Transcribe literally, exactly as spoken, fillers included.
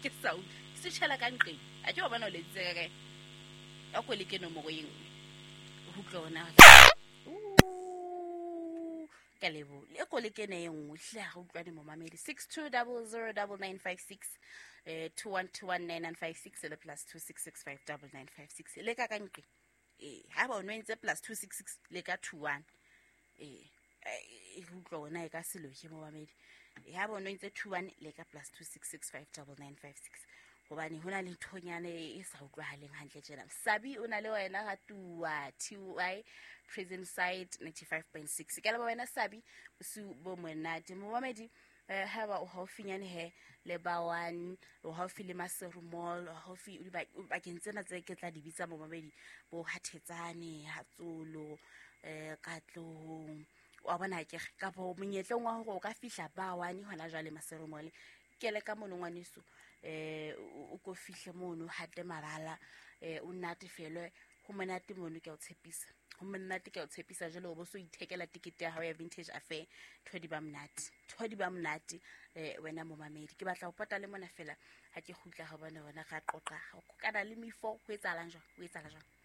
Ke sa utlwe. Switchela ka nqeng. A ke wa bona o leditse ka kae? A ko leke nomoro e nngwe. Ho utlwe hore na ka lebo le ko le kene e nngwe hle ha re utlwane momamedi six two double zero double nine five six eh two one two one nine nine five six le plus two six six five double nine five six le ka ka nqe eh ha ba o no entse plus two six six le ka two one eh e utlwa wona e ka se loke momamedi e ha ba o no entse two one le ka plus two six six five double nine five six hobane ho na le nthonyane e sa utlwahaleng hantle tjena. Sabi o na le wena ga tua T Y Prison Side ninety-five point six. Ke leboha wena Sabi, bosiu bo monate. Momamedi eh ha ba o haufinyane he le ba one, o haufi le Maseru Mall, o haufi o dibakeng tsena tse ke tla di bitsa momamedi, bo Hathetsane, Hatsolo, eh Katlehong. Wa bona ke ka bo monyetleng wa hore o ka fihla ba one hona jwale Maseru Mall. Ke le ka mono ngwaneso eh o ko fihle mono hate mabala eh o natefelwe ho monate mono ke a o tshepisa ho monate ke a o tshepisa jwale o bo so ithekela tikete ya hao ya Vintage Affair thodi ba monate thodi ba monate eh wena momamedi ke batla ho pota le mona fela ha ke kgutla ha bona wena ra qoqa ho kokana le mifo ho etsahalang jwang ho etsahala jwang.